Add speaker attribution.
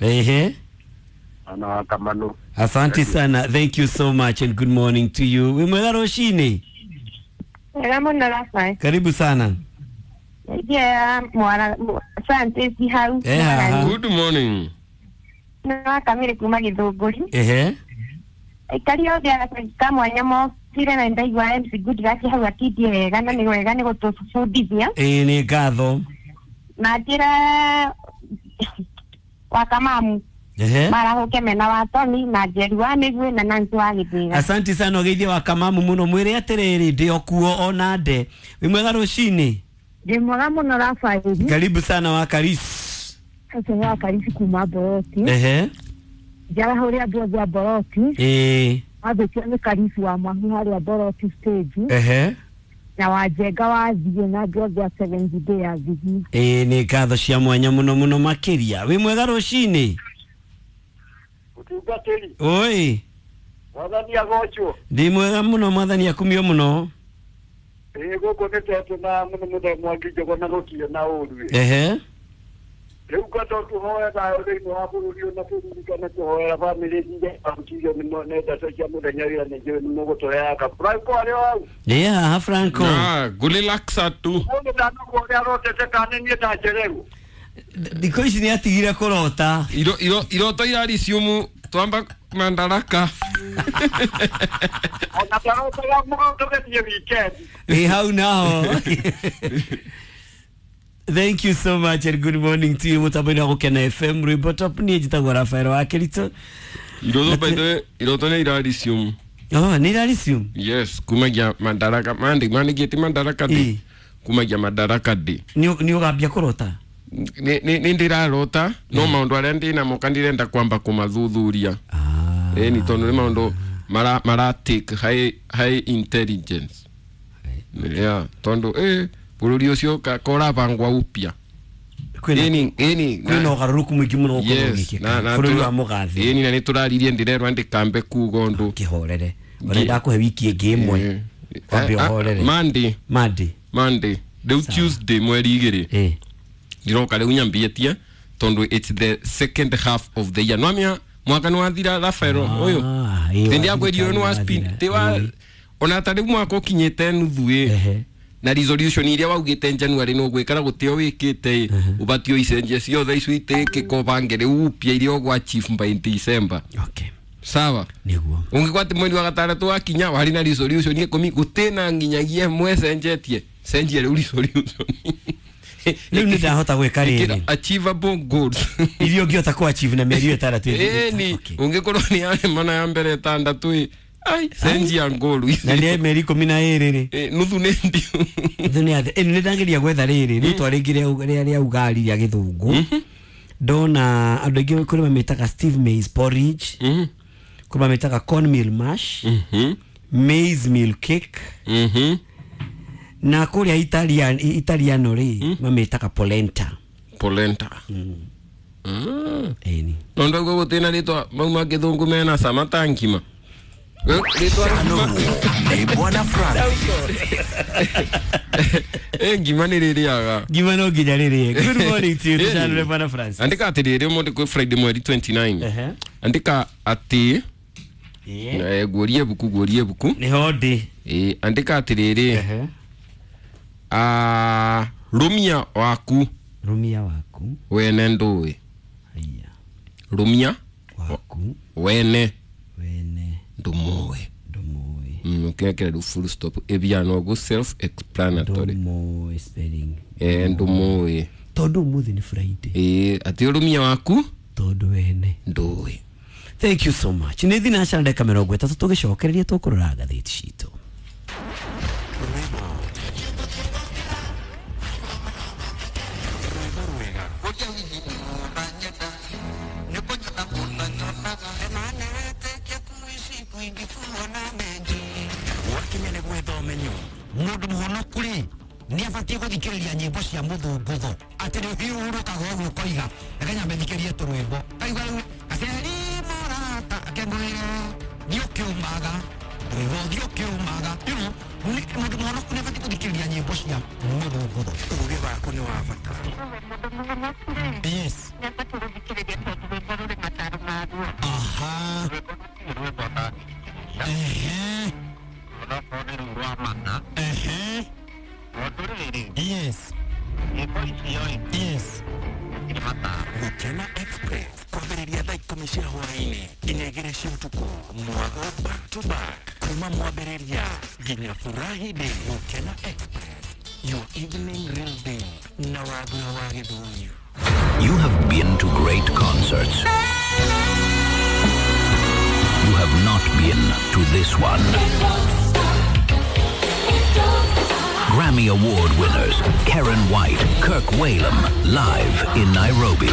Speaker 1: Ehe.
Speaker 2: Ana wa Kamanu.
Speaker 1: Asante sana. Thank you so much and good morning to you. Wĩ mwega rũcinĩ.
Speaker 3: Wega mũno Rafael.
Speaker 1: Karibu sana.
Speaker 3: Yeah, mwana Francis hau.
Speaker 1: Eh, haha.
Speaker 4: Good morning.
Speaker 3: Nĩ wakamire kuma Gĩthũngũri.
Speaker 1: Ehe.
Speaker 3: Aikari othe a mwanya mokire na ndaigua MC Goodluck hau akindie wega na nĩ wega nĩ gũtũbundithia.
Speaker 1: Ĩĩ nĩ ngatho.
Speaker 3: Na njĩra wakamamu
Speaker 1: Ehe.
Speaker 3: marahũke mena wa Tony na Njeri wa Mĩguĩ na Nancy wa Gĩthĩga.
Speaker 1: Asante sana ũgeithie wa kamamu mũno mwĩre atĩrĩrĩ ndĩ o kuo ona nde. Wĩ mwega rũcinĩ.
Speaker 5: Ndĩ mwega mũno Rafaeli.
Speaker 1: Karibu sana wa Karis.
Speaker 5: Ũcio nĩ wa Karisi kuma Boroti.
Speaker 1: Ehe.
Speaker 5: Njarahũre andũ othe a Boroti.
Speaker 1: Ĩĩ.
Speaker 5: Athũkio nĩ Karisi wa Mahu harĩa Boroti stage.
Speaker 1: Ehe.
Speaker 5: Na Wanjenga wa Thiĩ na andũ othe a Seventh Day ya Thigi.
Speaker 1: Ĩĩ nĩ ngatho cia mwanya mũno mũno makĩria. Wĩ mwega rũcinĩ.
Speaker 2: Mũtungatĩri,
Speaker 1: Oi.
Speaker 2: mwathani agocwo.
Speaker 1: Ndĩ mwega mũno mwathani akumio mũno.
Speaker 2: Ĩĩ gũkũ nĩ tetũ na mũno mũthenya mwangi njogona gũtirĩ na ũru.
Speaker 1: Ehe.
Speaker 2: Rĩu ngwenda tũhoe thayũ thĩinĩ wa bũrũri ũyũ na tũririkane kũhoera bamĩrĩ iria ahutirio nĩ ndeto cia mũthenya wĩra nĩ njũĩ nĩ mũgũtũheaga. Franco arĩ o hau.
Speaker 1: Ndĩ haha Franco.
Speaker 4: Ah, gulilaksa tu.
Speaker 2: Mũndũ ndanagwo ũrĩa arotete kana nĩ niĩ ndanjererwo.
Speaker 1: Thikũ ici nĩ atigire kũrota.
Speaker 4: Iro iro iroto irariciumu twamba mandaraka.
Speaker 2: Ona ndarotaga mũno tũgĩthiĩ weekend.
Speaker 1: Ĩ hau naho. Thank you so much and good morning to you mutambo-inĩ wa Gũkena FM rwĩmbo top niĩ njĩtagwo Rafael wa Kĩritũ.
Speaker 4: Iroto by the way, iroto nĩ irariciumu.
Speaker 1: Oh, nĩ iraricium.
Speaker 4: Yes, kumagia mandaraka mandi mandigĩti mandaraka
Speaker 1: Ĩ.
Speaker 4: day. Kumagia madaraka day.
Speaker 1: Nĩ ũgambia kũrota.
Speaker 4: Nĩ ndĩrarota no maũndũ arĩa ndĩnamo kandirenda kwamba kũmathuthuria.
Speaker 1: Ah.
Speaker 4: Ĩni tondũ nĩ maũndũ mara mara take high high intelligence. Yeah, tondũ bũrũri ũcio korabangwa upya.
Speaker 1: Kwĩna
Speaker 4: Ĩni ĩni
Speaker 1: kwĩna ũgarũrũku mũingĩ mũno ũkorwo
Speaker 4: Yes,
Speaker 1: ũgĩkĩka bũrũri wa mũgathĩ.
Speaker 4: Ĩni na nĩtũraririe ndĩrerwo ndĩkambe kuga ũndũ.
Speaker 1: Kĩhorere. Ona ndakũhe wiki ĩngĩ ĩmwe. Wambe ũhorere.
Speaker 4: Monday,
Speaker 1: Monday.
Speaker 4: Monday. Rĩu Tuesday mweri igĩrĩ
Speaker 1: Ĩ.
Speaker 4: ndiroka rĩu nyambĩtie tondũ it's the second half of the year nwamia mwaka nĩ wathira Rafael ũyũ
Speaker 1: Ah, ĩ,
Speaker 4: tĩ ndiakwĩrire
Speaker 1: wathira,
Speaker 4: nĩ wa spin
Speaker 1: wathira.
Speaker 4: tĩ wa
Speaker 1: Ĩ.
Speaker 4: ona ta rĩu mwaka ũkinyĩte nuthu ĩ
Speaker 1: Ehe.
Speaker 4: na resolution iria waugĩte January nĩ ũgwĩka na gũtĩ o wĩkĩte ĩ ũbatiĩ ũicenjie ciothe icio itĩkĩka ũbange rĩu upya iria ũgwa achieve by December
Speaker 1: Okay.
Speaker 4: sawa
Speaker 1: Nĩguo.
Speaker 4: ũngĩkorwo atĩ mweri wa gatandatũ wakinya warĩ na resolution ikũmi gũtĩ na nginyagia ĩmwe cenjetie cenjia rĩu resolution
Speaker 1: Rĩu nĩ ndahota gwĩka
Speaker 4: Ĩkĩra
Speaker 1: rĩrĩ.
Speaker 4: achievable goals
Speaker 1: Iria ũngĩhota kũ achieve na mĩeri ĩyo ĩtandatũ ĩthirĩte.
Speaker 4: ĩni
Speaker 1: Okay.
Speaker 4: ũngĩkorwo nĩ yarema na ya mbere ĩtandatũ ĩ ai cenjia goal
Speaker 1: Na nĩ mĩeri ikũmi na ĩrĩ rĩ.
Speaker 4: Ĩ, nuthu nĩ ndiũ
Speaker 1: Nuthu nĩ atĩ ĩni nĩ ndageria gwetha rĩrĩ rĩtwa rĩngĩ rĩa ugari rĩa gĩthũngũ. Ndona andũ aingĩ kũrĩ mamĩtaga Steve maize porridge, kũrĩ mamĩtaga cornmeal mash, maize meal cake na kũrĩa Italiano rĩ mamĩtaga polenta.
Speaker 4: Polenta.
Speaker 1: Ĩni.
Speaker 4: Tondũ auga gũtĩ na rĩtwa mau ma gĩthũngũ mena cama ta ngima. Rĩtwa
Speaker 6: Nĩ Bwana Francis.
Speaker 4: ĩ ngima nĩ rĩrĩaga.
Speaker 1: Ngima no nginya rĩrĩe. Good morning to you
Speaker 4: Ĩni.
Speaker 1: tũcanũre Bwana Francis.
Speaker 4: Andĩka atĩrĩrĩ ũmũthĩ kwĩ Friday mweri 29.
Speaker 1: Ehe.
Speaker 4: Andĩka atĩ
Speaker 1: Ĩĩ.
Speaker 4: guorie buku guorie buku.
Speaker 1: Nĩho ndĩ.
Speaker 4: Ĩ, andĩka atĩrĩrĩ
Speaker 1: Ehe.
Speaker 4: ah, rũmia waku
Speaker 1: Rumia waku.
Speaker 4: wene ndũĩ.
Speaker 1: Haiya.
Speaker 4: Rũmia
Speaker 1: Waku
Speaker 4: wene
Speaker 1: wene
Speaker 4: ndũmũĩ.
Speaker 1: ndũmũĩ.
Speaker 4: Ũkĩrekera rĩu full stop ĩbiana ũguo self explanatory.
Speaker 1: Ndũmũĩ spelling.
Speaker 4: Ĩ, ndũmũĩ.
Speaker 1: Tondũ ũmũthĩ nĩ Friday.
Speaker 4: Ĩ, atĩ ũrũmia waku
Speaker 1: Tondũ wene.
Speaker 4: ndũĩ.
Speaker 1: Thank you so much. Nĩ thinacara ndagĩka mĩrongo ĩtatũ tũgĩcokereria tũkũrora ngathĩti citũ.
Speaker 6: Wakinya nĩ gwetha ũmenyo mũndũ mũhonoku rĩ nĩ abatiĩ gũthikĩrĩria nyĩmbo cia mũthũngũtho atĩ nĩ ũhiũrũkaga ũguo ũkoiga reke nyambe thikĩrie tũrwĩmbo kaigua rĩu gaceri mũrata akengwĩre thiĩ ũkĩũmaga rwĩmbo thiĩ ũkĩũmaga. You know, mũndũ mũhonoku nĩ abatiĩ gũthikĩrĩria nyĩmbo cia mũthũngũtho. Ũgĩ waku nĩ wa bata. Yes. Aha. Ehe. Ehe. Yes. Yes.
Speaker 7: Gukena Express kwambĩrĩria thaa 10 cia hwaĩ-inĩ nginya 2 cia ũtukũ, mwago back to back kuma mwambĩrĩria nginya furahi day. Gukena Express, your evening real day na Wagura wa Gĩthũri.
Speaker 8: You have been to great concerts. You have not been to this one. Grammy Award winners Karen White, Kirk Whalum, live in Nairobi.